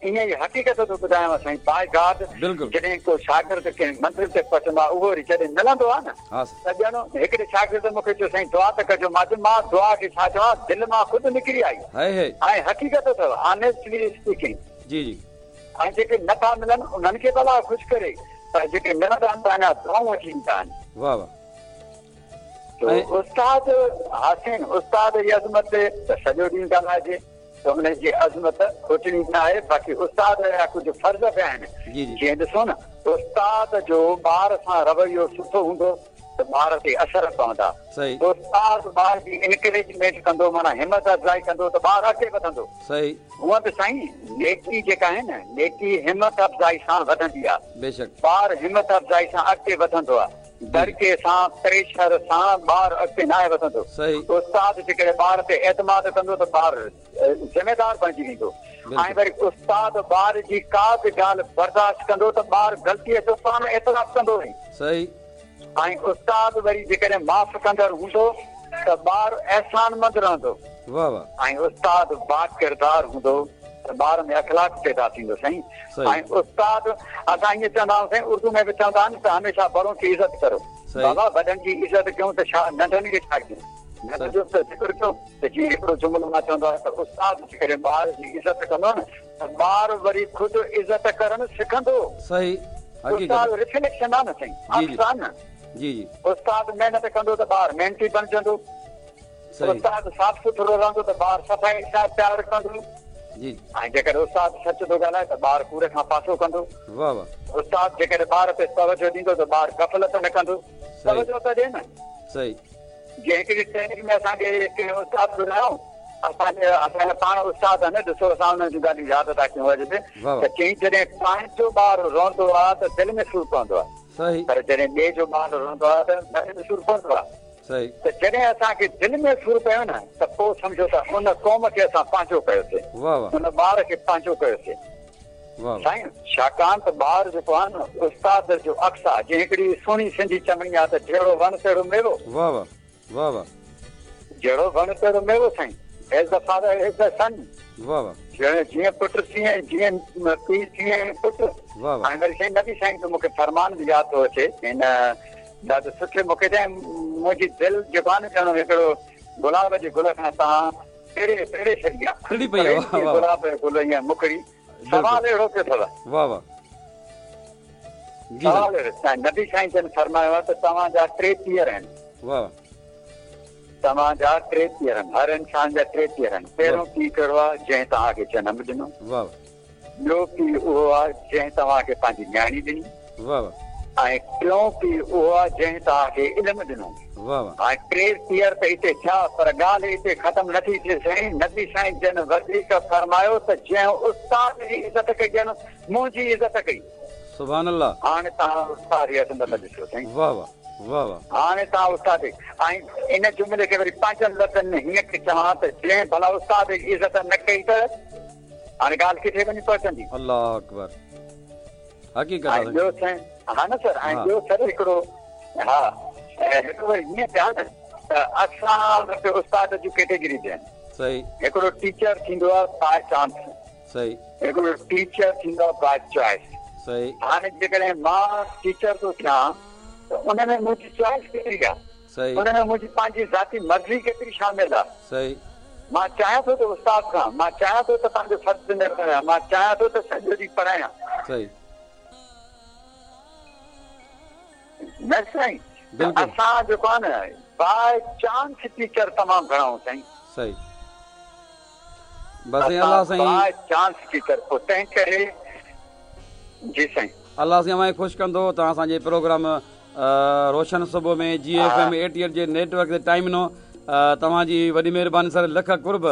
ائين ئي حقيقت ٿو ٻڌايانو سائين باء گاڊ جڏهن ڪو شاگرد ڪنهن منزل تي پهچندو آهي اهو وري جڏهن ملندو آهي نه ته ڄڻ هڪڙي شاگرد مون کي چيو سائين دعا ته ڪجو مان چيو مان دعا کي ڇا چوان دل مان خود نڪري آئي ۽ حقيقت اٿو آنيسٽلي اسپيڪنگ جي جي ۽ جيڪي نه ٿا ملن انهن کي به الله خوش ڪري پر جيڪي ملندا آهن ته اڃا دعائون وٺي ايندا آهن. واه واه. تو استاد حسين استاد جي عظمت تي ته سڄو ڏينهن ڳالهائجي ته ان جي عظمت کوٽڻي نه آهي باقي استاد جا ڪجهه فرض به آهن جيئن ڏسو نه استاد جو ٻار سان رويو سٺو هوندو ته ٻار تي اثر پوندا استاد ٻار جي انڪريجمينٽ ڪندو معنيٰ همت افزائي ڪندو ته ٻار اڳتي وڌندو هونئن به سائين نيڪي جيڪا آهي نه نيڪي همت افزائي سان وڌندي آهي ٻار همت افزائي سان اڳتي وڌندو آهي دڙڪي سان، پريشر سان ٻار اڳتي ناهي وڌندو. استاد جيڪڏهن ٻار تي اعتماد ڪندو ته ٻار ذميدار بڻجي ويندو ۽ وري استاد ٻار جي ڪا به ڳالهه برداشت ڪندو ته ٻار غلطيء جو پاڻ اعتراف ڪندو وڃي. ۽ استاد وري جيڪڏهن معاف ڪندڙ هوندو ته ٻار احسانمند رهندو ۽ استاد باڪردار هوندو ته ٻار ۾ اخلاق پيدا ٿيندو سائين ۽ استاد اسان ائين چوندا آهيون سائين اردو ۾ به چوندا آهن ته هميشه بڙون ڪي عزت ڪرو بابا وڏن جي عزت ڪيون ته ڇا ننڍن کي ڇا ڪيون ننڍن جو ته ذڪر ڪيو ته جيئن هڪڙو جملو مان چوندو آهيان ته استاد جيڪڏهن ٻار جي عزت ڪندو نه ته ٻار وري خود عزت ڪرڻ سکندو. صحيح حقيقت. استاد ريفليڪشن آهي نه سائين عڪس آهي نه. جي جي. استاد محنت ڪندو ته ٻار محنتي بڻجندو. استاد صاف سٿرو رهندو ته ٻار صفائي سان پيار ڪندو. جي. ۽ جيڪڏهن استاد سچ ٿو ڳالهائي ته ٻار ڪوڙ کان پاسو ڪندو. واه واه. استاد جيڪڏهن ٻار تي توجه ڏيندو ته ٻار غفلت نه ڪندو. توجه ته ڏي نه. صحيح. جيئن هڪڙي ٽريننگ ۾ اسان کي ڪنهن استاد ٻڌايو، اسان جي اسان جا پاڻ استاد آهن ڏسو اسان انهن جون ڳالهيون ياد ٿا ڪيون اڄ به ته چيائين جڏهن پنهنجو ٻار روئندو آهي ته دل ۾ سور پوندو آهي پر جڏهن ٻئي جو ٻار روئندو آهي ته دل ۾ سور پوندو آهي ته جڏهن اسان کي دل ۾ سور پيو نه ته پوء سمجهو ته ان قوم کي اسان پنهنجو ڪيوسين ان ٻار کي پنهنجو ڪيوسين. سائين ڇاڪاڻ ته ٻار جيڪو آهي نه استاد جو عڪس آهي جيئن هڪڙي سهڻي سنڌي چوڻي آهي ته جهڙو وڻ تهڙو ميوو. واه واه واه واه. جهڙو وڻ تهڙو ميوو سائين as the father as the son. واه واه. جيئن پٽ تيئن جيئن پيء تيئن پٽ. واه واه. ۽ وري سائين نبي سائين جو مونکي فرمان به ياد ٿو اچي هن ڏاڍو سٺي موقعي تي ۽ منهنجي دل جيڪو آهي نه ڄڻ هڪڙو گلاب جي گل کان توهان ٽڙي ٽڙي ڇڏي آ. ٽڙي پئي آ واه واه. گلاب جو گل ائين مکڙي سوال اهڙو پيو اٿو. واه واه جي سوال اهڙو سائين نبي سائين جن فرمايو آ ته توهان جا ٽي پيئر آهن. واه واه. توهان جا ٽي پيئر آهن هر انسان جا ٽي پيئر آهن پهريون پيء ڪهڙو آ جنهن توهان کي جنم ڏنو. واه واه. ٻيو پيء اهو آ جنهن توهان کي پنهنجي نياڻي ڏني. واه واه. ۽ ٽيون پيء اهو آ جنهن توهان کي علم ڏنو. واه واه. هاڻي ٽي پيئر ته اتي ٿيا پر ڳالهه اتي ختم نه ٿي ٿئي سائين نبي سائين جن وڌيڪ فرمايو ته جنهن استاد جي عزت ڪئي ڄڻ منهنجي عزت ڪئي. سبحان الله. هاڻي توهان استاد جي عظمت ڏسو سائين. واه واه واه واه. هاڻي توهان استاد جي ۽ ان جملي کي وري پنهنجن لفظن ۾ هيئن ٿي چوان ته جنهن ڀلا استاد جي عزت نه ڪئي ته هاڻي ڳالهه ڪٿي وڃي پهچندي. الله اڪبر حقيقت آ ۽ ٻيو سائين ها نه سر ۽ ٻيو سر هڪڙو ها هڪڙو وري هيئن ٿيا نه ته اسان وٽ استاد جون ڪيٽيگريز آهن. صحيح. هڪڙو ٽيچر ٿيندو آهي باء چانس. صحيح. هڪڙو ٽيچر ٿيندو آهي باء چوائس. صحيح. هاڻي جيڪڏهن مان ٽيچر ٿو ٿيان ته ان ۾ منهنجي چوائس ڪيتري آهي. صحيح. ان ۾ منهنجي پنهنجي ذاتي مرضي ڪيتري شامل آ. صحيح. مان چاهيان ٿو ته استاد ٿيان، مان چاهيان ٿو ته پنهنجو فرض نڀايان، مان چاهيان ٿو ته سڄو ڏينهن پڙهايان. صحيح. نه سائين. بلڪل. اسان جيڪو آ نه باء چانس ٽيچر تمام گهڻا آهيون سائين. صحيح. بس سائين الله سائين. باء چانس ٽيچر پوء تنهن ڪري جي سائين. الله سائين اوهان کي خوش ڪندو توهان اسان جي پروگرام روشن صبح ۾ جي ايف ايم 88 جي نيٽ ورڪ تي ٽائيم ڏنو توهان جي وڏي مهرباني سر لک قرب.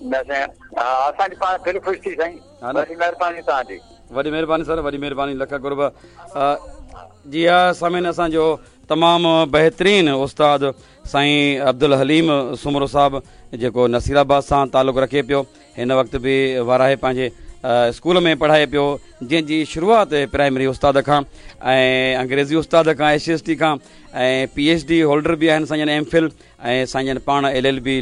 نه سائين اسان جي پاڻ دل خوش ٿي سائين وڏي مهرباني توهان جي. وڏي مهرباني سر وڏي مهرباني لک قرب. جي ها سامعين اسان جو تمام بهترين استاد سائين عبدالحليم سومرو صاحب جيڪو نصير آباد سان تعلق رکي پيو هن وقت به وارهه پنهنجي اسڪول ۾ پڙهائي پيو جنهن جي شروعات پرائمري استاد کان ۽ انگريزي استاد کان ايس ايس ٽي کان ۽ پي ايڇ ڊي هولڊر به آهن سائين جن ايم فل ۽ سائين جن پاڻ ايل ايل بي.